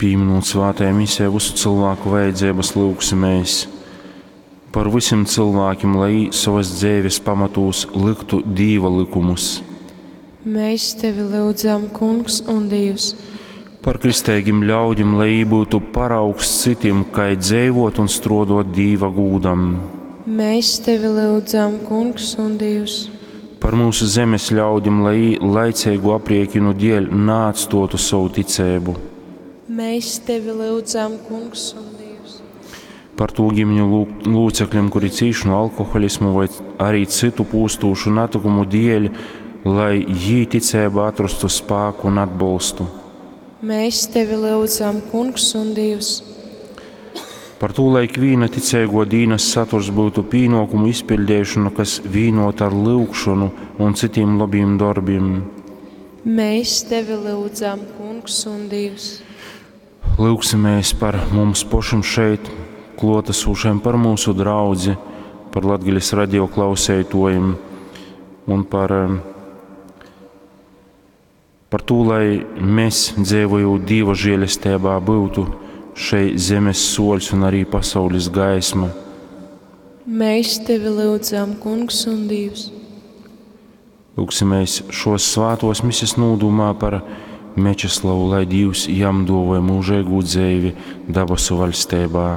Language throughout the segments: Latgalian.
Pīminūt svātajā misē vysu cylvāku vajadzeibas, lyugsimēs par vysim cylvākim, lai jī sovas dzeives pamatūs lyktu Dīva lykumus. Mēs tevi lyudzam, Kungs un Dīvs. Par kristeigim ļaudim, lai jī byutu paraugs cytim, kai dzeivot un struodot Dīva gūdam. Mēs tevi lyudzam, Kungs un Dīvs. Par myusu zemes ļaudim, lai jī laiceigu apriekinu dēļ naatstuotu sovu ticeibu. Mēs tevi lyudzam, Kungs un Dīvs. Par tū ģimeņu lūcekļiem, kuri cīš no alkoholismu voi arī cytu pūstūšu natykumu dēļ, lai jī ticeibā atrastu spāku un atbolstu. Mēs tevi lyudzam, Kungs un Dīvs. Par tū, lai ikvīna ticeiguo dīnas saturs byutu pīnuokumu izpiļdeišona, kas vīnuota ar lyugšonu un cytim lobim dorbim. Mēs tevi lyudzam, Kungs un Dīvs. Lyugsimēs par mums pošim šeit kluotesošiem, par mūsu draudzi, par Latgales radio klauseituojim un par, par to, lai mēs, dzīvojot Dīva žēlestībā, būtu šeit zemes soļs un arī pasaules gaisma. Mēs tevi lyudzam, Kungs un Dīvs. Lūgsimies šos svātos mises nūdūmā par Mečeslavu, lai Dīvs jam duovoja mūžīgu dzeivi dabasu vaļstībā.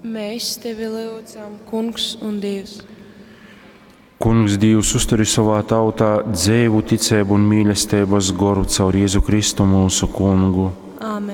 Mēs tevi lyudzam, Kungs un Dīvs. Kungs Dīvs uzturi savā tautā dzeivu ticību un mīlestības goru caur Jēzu Kristu mūsu kungu. Āmen.